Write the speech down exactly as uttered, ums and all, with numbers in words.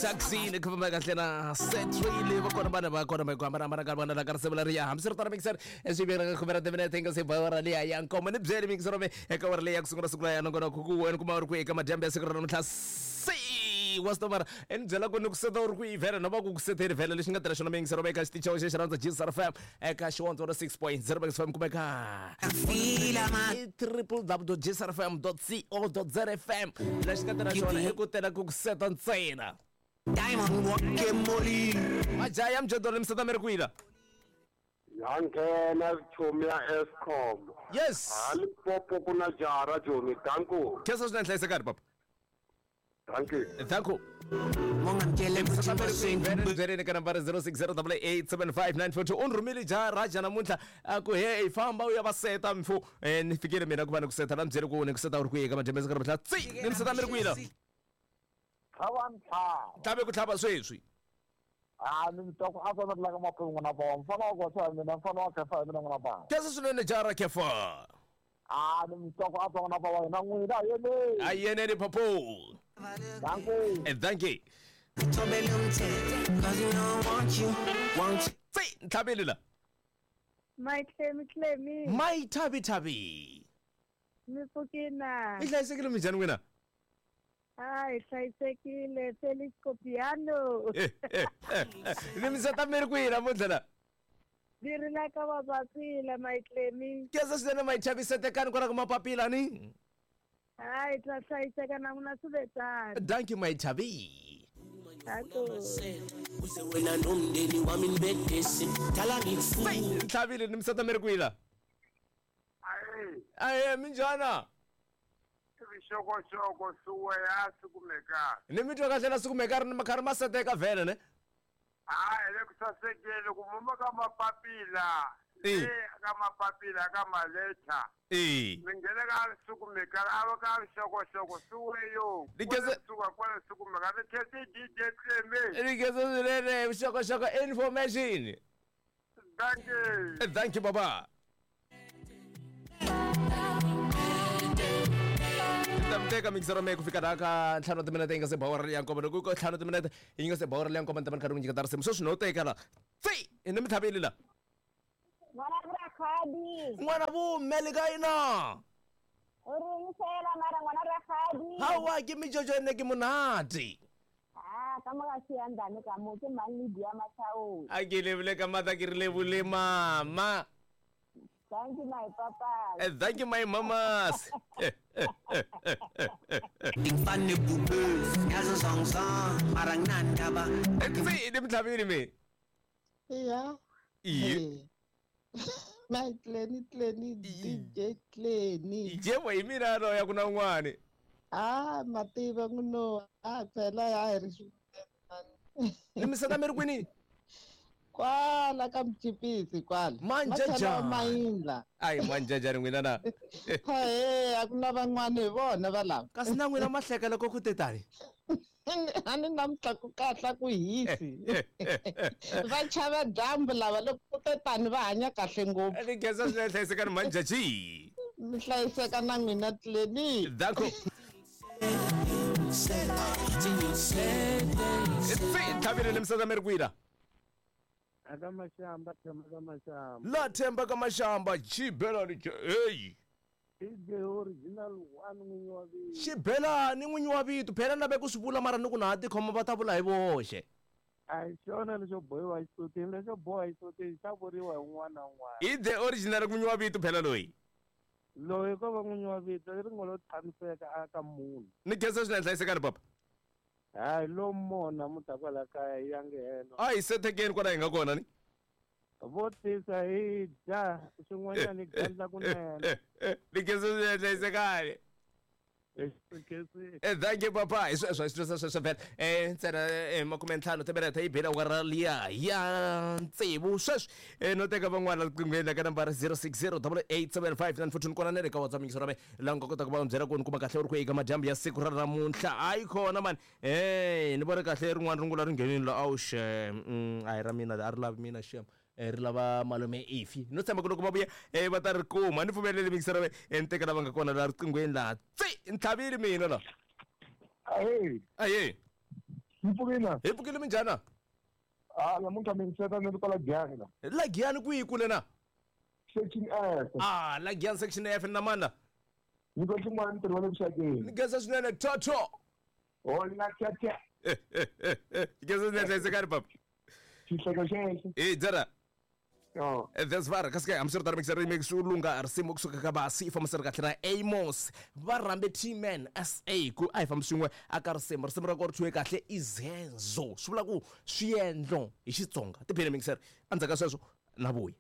Taxi ni khoma kahle na Setrile va kona vana va kona va ku hambana ka vana la ka risimu leriya hambiswiritano mixer swi veka ka khume ra timinete yi nga se ba awara liya ya nkombo ni byeli mixer me eka awara leyi ya ku sungula siku la ya nongonoko ku wena kuma u ri kwihi eka madyambu ya siku ra namuntlha se wa stomara i ni byela ku ni ku seta u ri kwihi vhele no va ku ku seteni vhele lexi nga tirha xona mixer me eka xitichi xa xi rhandza G S R F M eka xi one six point zero F M kumeka triple w dot g s r f m dot co dot z f m lexi nga tirha xona i ku tela ku ku seta ntsena. Diamond walk Majaha ya mjondolo mi seta mi ri kwihi la? Ya nghena chomi ya Eskom. Yes. Ha Limpopo ku na jaha ra Joni. Danko. Khensa swinene, hlayisekani papa. Thank you. Thank you. Byeleni ka nambara zero six zero double eight seven five nine four two u ni rhumile jaha raja namuntlha a ku he famba u ya va seta mfu. Eh, ni fikile mina ku va ni ku seta la mi byele ku ni ku seta u ri kwihi eka madyambu ya siku ra namuntlha tsi ni mi seta mi ri kwihi la? Tlhava ntlhava. Tlhave ku tlhava sweswi. Ah, ni mi twa ku a swa la ka maphepha n'wana ba mfana wa gosa hi mina mfana wa khefa hi mina n'wana ba. Khensa swinene jaha ra khefa. Ah, ni mi twa ku a swa n'wana ba wa hina n'wina a yeneni. A yeneni papo. Thank you. Eh, thank you. Tsi ntlhaveli la. My Clemmy Clemmy. My Thabi Thabi. Mi pfukina. I hlayisekile minjhani n'wina? Hayi, hlayisekile Felix Copiano. Eh, eh, eh, eh. Ni mi seta mi ri kwihi namuntlha la? Ni ri la ka Mapapila, my Clemmy. Khensa swinene my Thabi, setekani kwala ka Mapapila ni? Hayi, ta hlayiseka na n'wina swi ve tano. Thank you my Thabi. Ntlhavile ni mi seta mi ri kwihi la? Ayi. Ayi, minjhana? Swixokoxoko swi ya sikumeka. Ni mi twa kahle na sikumeka ri ni karhi ma seteka vhele ne? Hayi, le ku sasekile ku muma ka mapapila. Eh. Le ka mapapila ka maleta. Eh. Mi nghena ka sikumeka a va ka swixokoxoko swi yo. Ni khensa- Suka kwala sikumeka ni khensa D J Clemmy. Ni khensa swinene vuxokoxoko information. Thank you. Thank you baba. Ta mi teka mixer me ku fika laha ka ntlhanu wa timinete yi nga se ba awara ya nkombo loko ku ntlhanu timinete yi nga se ba awara ya nkombo ni ta va ni karhi ni nyiketa risimu sweswi no teka la tsi ni mi tlhaveli la. N'wana Rakgadi. N'wana vume le ka yina. U ringisela mara n'wana Rakgadi. Hawa ke mijojo ene ke monate. Ah, ka mo ka siyandane ka mo ke mang le dia Masao. A ke lebile ka mata ke re lebole mama. Thank you my papa. Eh, thank you my mamas. Ngifane bube yazo zongzong mara nginandaba. Tsi ni mi tlhavile me. Yeah. Iye. My Clenny Clenny D J Clenny. Yebo hi mina loya ku na un'wani. Ah, mativa n'wino. Ah, phela ya hi ri Ni mi seta mi ri kwini? Kwala ka Mchipisi kwala. Manjajani. Mayindla. Ayi manjajani n'wina na. Hayi, a ku na van'wani hi vona va lava. Kasi na n'wina mahleka loko ku te tani. A ni namuntlha ku kahle ku hisi. Va chava dyambu lava loko ku te tani va hanya kahle ngopfu. Ni khensa swinene hlayisekani manjaji. Mi hlayiseka na n'wina Clenny. Danko. Tsi ntlhavile ni mi seta mi ri kwihi la? Aka Mashamba, Themba ka Mashamba. La Themba ka Mashamba, xibelani hey. D J original one n'winyi wa vito. Xibelani n'winyi wa vito, phela na ve ku swi vula mara ni ku na ha tikhoma va ta vula hi voxe. A hi xona lexo bohiwa xisutini, lexo boha xisutini xa vuriwa hi un'wana na un'wana. I the original n'winyi wa vito phela loyi. Loyi ko va n'winyi wa vito i ringo lo tshamiseka aka munhu. Ni khensa swinene hlayisekani papa. Hayi lo mona muta kwala kaya yi ya nghena. A hi setekeni kwala hi nga kona ni. Vo tisa hi dya swin'wanyana hi gandla kunene. Ni khensa swinene hlayisekani. Eh, thank you papa. Hi sweswo hi swilo sweswo vhele. Eh, ntsena eh makume ntlhanu timinete yi bile awara liya ya tsevu sweswi. Eh, no teka van'wana riqinghweni ka nambara zero six zero double eight seven five nine four two kona na le ka WhatsApp mingiso ra me laha u nga kotaka ku va byela ku ni kuma kahle u ri ku eka madyambu ya siku ra namuntlha. Hayi kona mani. Eh, ni vone kahle rin'wana rungula ri nghenini la awu xem. A hi ra mina a ri lavi mina xem. Ri lava malume Ifi. No tshemba ku loko va vuya eh va ta ri kuma. Ni pfumeleli mingiso ra me ni teka lava nga kona la riqinghweni laha. Tsi ntlhavile mina la. Ahee, Aye. mi pfukile? Hi pfukile minjhana? Ah, namuntlha mi seta ni ri kwala Giyani la. La Giyani kwihi kule na? Section F. Ah, la Giyani section F na mana. Ni ko xin'wana ntirho wa le vuxakeni. Ni geza swinene toto. Hola tata. Geza swinene hlayisekani papa. Xihleko xexo. Eh, dzara. Oh. That's var kasi ke hambiswiritano mixer remix wu lunga risimu kusuka ka basi fambisa ri kahle na Amos va rhambe T-Man S A ku a hi fambi swin'we aka risimu risimu ra kona ri thyiwe kahle izenzo swi vula ku swiendlo hi Xitsonga tiphini mixer endzhaku ka sweswo na vuya.